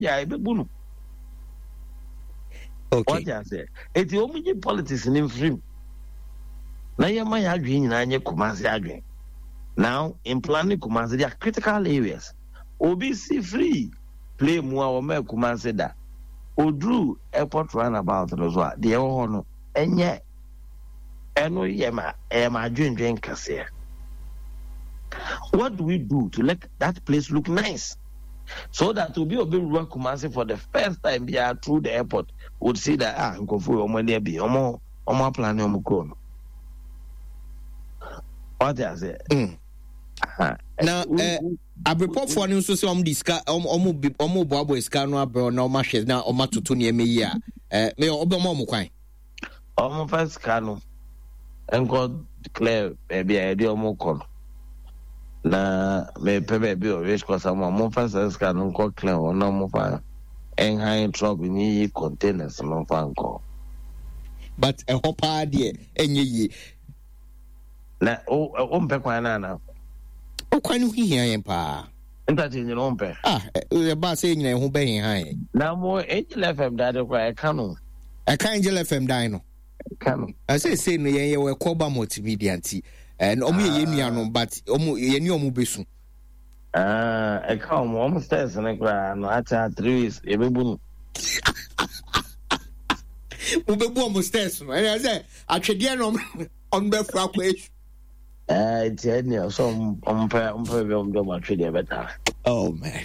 Yɛ a yɛbɛbu no. Okay. Wate aseɛ? Eti wɔn gye politics ne mfirim na yɛma yɛ adwene nyinaa nyɛ Kumasi adwene. Now in planning Kumasi there are critical areas. Obi si free play mu a wɔn Kumasi da. Oduru airport runabout no so a deɛ ɛwɔ hɔ no ɛnyɛ ɛno yɛ ma ɛyɛ ma adwendwen kɛseɛ. What do we do to let that place look nice? So that obi a ɔbɛwura Kumasi for the first time biara through the airport would see that ah nkurɔfoɔ yi wɔn ani abie wɔn wɔn aplane wɔn kuro no. Wate aseɛ? Mm. Na eh, abrepɔfoɔ no nso sɛ wɔn de sika wɔn wɔn wɔn boaboa sika no abrɛ na wɔn ahwɛ na wɔn atoto nneɛma yi a eh, mɛ ɔbɛma wɔn kwan. Wɔmfa sika no nkɔ clear baabi a yɛde wɔn kɔ no na mepɛ baabi wɔ race course ama wɔmfa saa sika no nkɔ clear hɔ na wɔmfa nhan truck nyiyi containers no mfa nkɔ. But ɛhɔ paa deɛ ɛnyɛ yie. Na wompɛ kwan no anaa? O kwan no ho hia yɛn paa. Interchange no wompɛ? Ah, ɛbaa sɛ yɛnyina yɛn ho bɛheha yɛn. Na mo Angel FM dan de koraa ɛka no. Ɛka Angel FM dan no. Ɛka no. Ɛsɛ sɛ no yɛn yɛwɔ ɛkɔba multimedia nti ɛn ɔmo yɛ yɛn nuanom but ɔmo yɛn ni ɔmo bɛsu. Ah, ɛka ɔmo ɔmo stairs no koraa no akyɛ 3 weeks yɛbɛbu no. Wobɛbu ɔmo stairs no ɛnɛ sɛ atwedeɛ na ɔmo bɛfura akɔ esu. Ɛɛ nti ɛnni ɔsɛ ɔmo pɛ baabi a ɔmo de ɔmo atwedeɛ bɛtare. Oh man.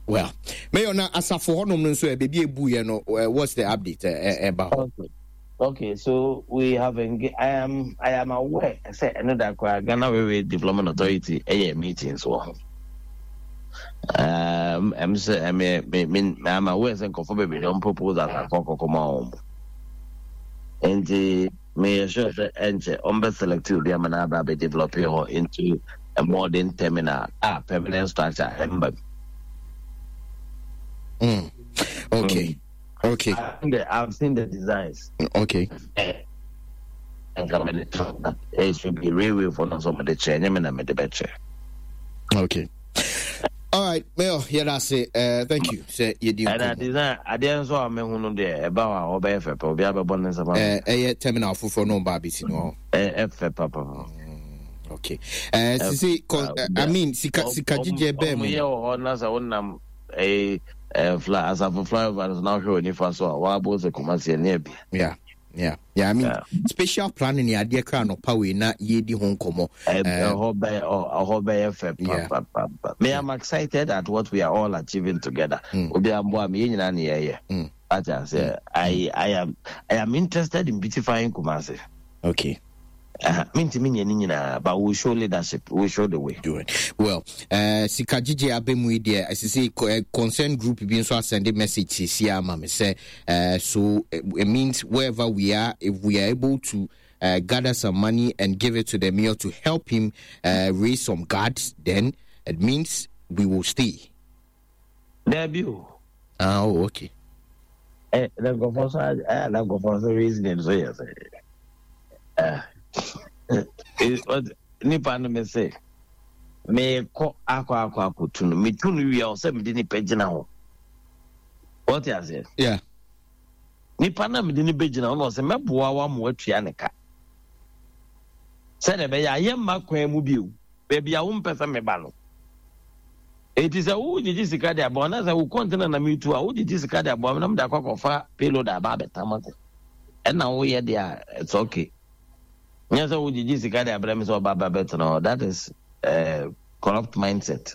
Well, Mayor, na asafo hɔnom no nso ɛ baabi ebu yɛ no what's the update ɛba hɔ? Okay. Okay, so we have engaged. I am aware. Sɛ ɛno da koraa Ghana Railway Development Authority ɛyɛ meetings wɔ ho. Ɛm sɛ ɛmɛ me me I'm aware sɛ nkurɔfoɔ bebree de wɔn proposals akɔ kɔkɔ ma wɔn. Nti meyɛ sure sɛ ɛnkyɛ wɔn bɛ select obi ama no aba abɛ develop hɔ into a modern terminal a permanent structure ɛmba mu. Okay. Okay. I've seen the designs. Okay. Nka mede to it should be railway for no so mede kyerɛ nyɛ me na mede bɛkyerɛ. Okay. All right, Mayor, yeah, that's it. Thank you. Sɛ yɛdi nkɔmmɔ. Ɛna design adeɛ nso a mehu no deɛ ɛba hɔ a ɔbɛyɛ fɛ pɛ obi abɛbɔ ne nsɛm. Ɛyɛ terminal foforɔ no ɔba abɛsi no hɔ. Ɛfɛ papa. Okay. Sisi, I mean, sika gyigye bɛɛ mu. Ɔmo yɛ wɔ hɔ na sɛ wonam ɛyɛ fly asafo flyover no so na wohwɛ wɔ nifa so a wɔabɔ sɛ Kumasi ɛne abi. Yeah. I mean, yeah. Spatial planning ni adeɛ kra anɔpa wei na yɛdi ho nkɔmmɔ. Ɛhɔ bɛyɛ ɛhɔ bɛyɛ fɛ papapapa. Me am excited at what we are all achieving together. Obi amboa me yɛn nyinaa ne yɛyɛ. Ate aseɛ I am interested in beautifying Kumasi. Mentumi nyɛ ne nyinaa, but we show leadership, we show the way. Do it well. Sika gyegye abɛ mu yi deɛ ɛsɛ sɛ concern group bi nso asɛnde message sisi ama me sɛ so it means wherever we are, if we are able to gather some money and give it to the mayor to help him raise some guards, then it means we will stay. Dabi o. Ah, oh, okay. Na nkurɔfoɔ so na nkurɔfoɔ so reasoning so yɛ sɛ nipa no me se meekɔ akɔ akɔ akɔtu no metu no wie a ɔsɛ mede nipa gyina hɔ wɔte aseɛ. Nipa no a mede no bɛgyina hɔ no ɔsɛ mɛboa wo ama watua ne ka sɛdeɛ ɛbɛyɛ a yɛmma kwan mu bio baabi a wompɛ sɛ meba no. Enti sɛ wogyegye sika de aboa na sɛ wo kɔntena na metu a wogyegye sika de aboa me na mede akɔ akɔfa payload aba abɛtam ase ɛna woyɛ deɛ a it's okay. Nyɛ sɛ wogyegye sika de abrɛ me sɛ ɔba ba bɛtena hɔ. That is corrupt mindset.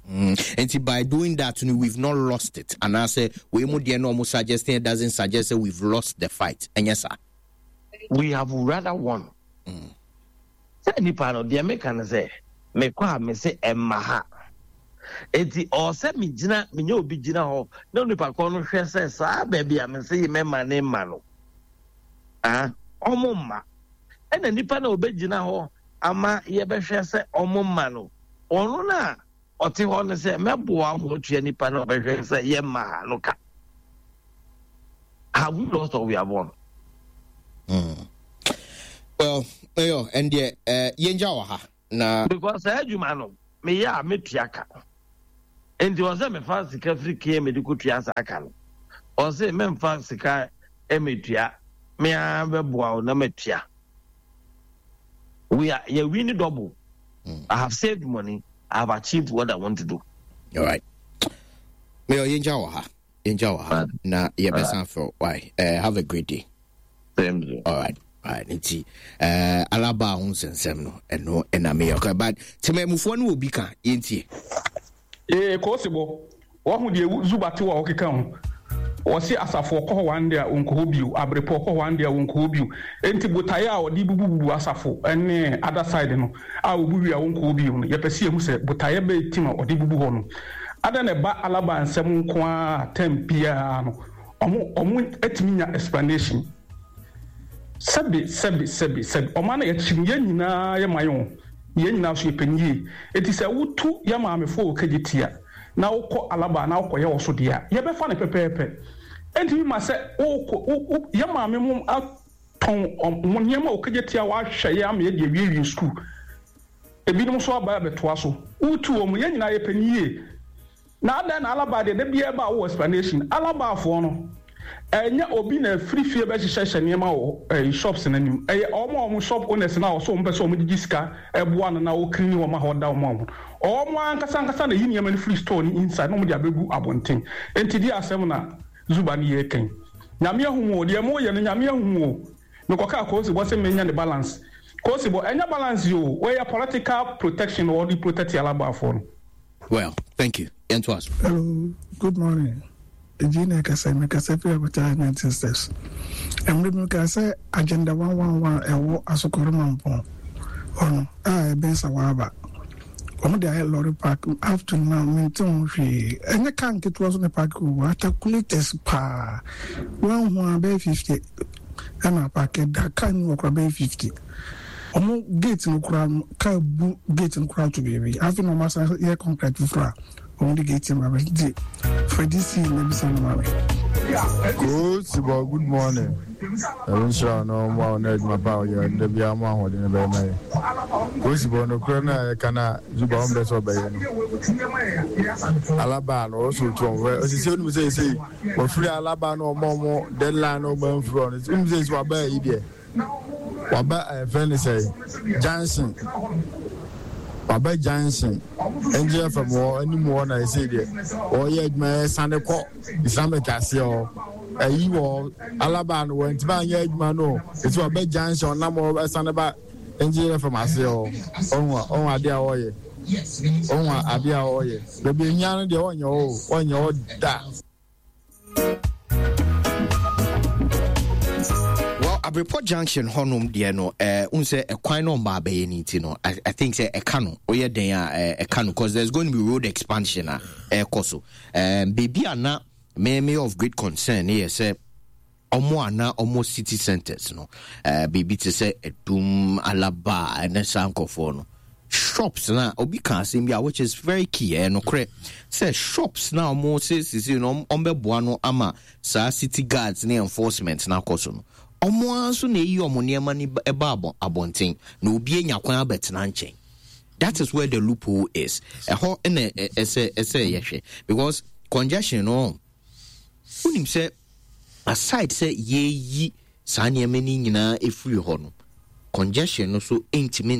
Nti by doing that no, we've not lost it anaasɛ wei mu deɛ na ɔmo suggesting it doesn't suggest that we've lost the fight, ɛnyɛ saa? We have rather won. Sɛ nipa no deɛ meka no sɛ mekɔ a mese ɛmma ha enti ɔwɔ sɛ megyina menyɛ obi gyina hɔ na onipa korɔ no hwɛ sɛ saa baabi a mese yi mɛma ne mma no ah ɔmo mma ɛna nipa na ɔbɛgyina hɔ ama yɛbɛhwɛ sɛ ɔmo mma no ɔno no a ɔte hɔ no sɛ mɛboa mo atua nipa na ɔbɛhwɛ sɛ yɛmma ha no ka. Have we lost or we have won? Well, ɛyɔ ɛndeɛ yɛngya wɔ ha na. Because saa adwuma no meyɛ a metua ka. Nti ɔsɛ mefa sika firi KMA de kɔtua saa ka no. Ɔse memfa sika mmetua, me ara bɛboa wo na matua. We are, yɛ win double. I have saved money, I have achieved what I want to do. All right. Mayor, yɛngya wɔ ha. Yɛngya wɔ ha. Na yɛbɛsan frɛ Why? Have a great day. Same to you. All right. All right. Nti, Alaba ho nsɛnsɛm no, ɛno ɛna meyɛ. Okay, but temamufoɔ no wɔ bi ka, yɛntie. Ee, Koosebo, wahu deɛ Zuba te wɔ a ɔkeka ho? Ɔse asafo ɔkɔ hɔ one day a ɔnkɔ hɔ bio, Abrepɔ ɔkɔ hɔ one day a ɔnkɔ hɔ bio. Enti botaeɛ a ɔde bubububu asafo ne other side no a ɔbu wie a ɔnkɔ hɔ bio no, yɛpɛ sɛ yɛhu sɛ botaeɛ bɛn ti na ɔde bubu hɔ no. Adɛn na ɛba Alaba nsɛm nko ara a term biara no ɔmo ɔmo tumi nya explanation? Sɛbe sɛbe sɛbe sɛbe ɔman a yɛte mu yɛn nyinaa yɛ man o. Yɛn nyinaa nso yɛpɛ no yie. Enti sɛ wotu yɛn maamefoɔ wɔ Kejetia na wokɔ Alaba na wokɔyɛ wɔ so deɛ a, yɛbɛfa no pɛpɛɛpɛ. Ɛntumi mma sɛ wokɔ, wo, wo, yɛn maame mo atɔn wɔn nneɛma wɔ Kejetia wɔahwɛ yɛn ama yɛde awiewie sukuu. Ebinom nso aba abɛtoa so. Wotu wɔn, yɛn nyinaa yɛpɛ no yie. Na adɛn na Alaba deɛ da biara ɛba a wowɔ explanation? Alabafoɔ no ɛnyɛ obi na ɛfiri fie bɛhyehyɛhyɛ nneɛma wɔ ɛyi shops no anim. Ɛyɛ wɔn a wɔn shop owners no a wɔsɛ wɔn pɛ sɛ wɔn gyegye sika ɛboa no na wɔclean hɔ ma hɔ da wɔn a wɔn wɔn ankasa ankasa na ɛyi nneɛma no firi store no inside na wɔn de abɛgu abɔnten. Enti deɛ asɛm na Zuba no yɛ kan. Nyame ahu mo o, deɛ mo yɛ no Nyame ahu mo o. Mekɔkaa Koosibɔ sɛ menya ne balance. Koosibɔ, ɛnyɛ balance yi o, wei yɛ political protection na wɔde protect Alabafoɔ no. Well, thank you. Yɛntoa so. Hello, good morning. Eji na ɛkasa mi kasa fi Abuja 19 steps. Mmerɛ bi mekaa sɛ agenda 111 ɛwɔ Asokore Mampɔn hɔ no a ɛbɛn Sawaaba. Wɔn de ayɛ lorry park up to now mente ho hwee. Ɛnyɛ car nketewa so na park wɔ hɔ, articulators paa. Wɔn ho a bɛyɛ 50 ɛna park da car ni wɔ kora bɛyɛ 50. Wɔn gate no koraa no car bu gate no koraa to baabi. Afei na wɔn asan yɛ concrete foforɔ a wɔn de gate no ba nti fɛ DC na bisa no ma me. Koosibɔ good morning. Nyame nhyira wo na ɔmmoa wo na adwuma pa a woyɛ no da biara ɔma ahoɔden no bɛyɛ ma yɛ. Koosibɔ nokorɛ no a yɛka no a Zuba ɔmpɛ sɛ ɔbɛyɛ no. Alaba no ɔwɔ sɛ ɔtu ɔmo fɛ ɔsisi onim sɛ ɛsei wɔfiri alaba no ɔmo ɔmo deadline no ɔmo amfiri ɔno onim sɛ ɛsei waba ayi deɛ Waba ɛfrɛ no sɛ junction waba junction Angel FM wɔ anim hɔ na ɛsɛ deɛ ɔyɛ adwuma ɛsane kɔ Islamic aseɛ hɔ ɛyi wɔ Alaba no wɔntumi anyɛ adwuma no ɛsɛ waba junction ɔnam hɔ ɛsane ba Angel FM aseɛ hɔ ɔho ɔho adeɛ a ɔyɛ ɔho adeɛ a ɔyɛ baabi ehia no deɛ ɔnyɛ hɔ ɔnyɛ hɔ da. Well, Abrepɔ Junction hɔnom deɛ no, eh, wohu sɛ ɛkwan no ɔmba abɛyɛ no nti no, I think sɛ ɛka no, woyɛ den a eh, ɛka no, because there's going to be road expansion a ɛrekɔ so. Um, baabi a na me me of great concern ne yɛ sɛ ɔmo a na ɔmo city centers no, eh, biribi te sɛ Adum, Alaba, ɛne saa nkurɔfoɔ no, shops na obi ka asɛm bi a which is very key ɛyɛ nokorɛ sɛ shops na ɔmo se sisi no ɔmo bɛboa no ama saa city guards ne enforcement na akɔ so no ɔmo ara nso na eyi ɔmo nneɛma no ɛba abɔ abɔnten na obi anya kwan abɛtena nkyɛn that is where the loophole is ɛhɔ ɛna ɛsɛ ɛsɛ yɛhwɛ because congestion no wonim sɛ aside sɛ yɛyi saa nneɛma no nyinaa efiri hɔ no congestion no so ntumi.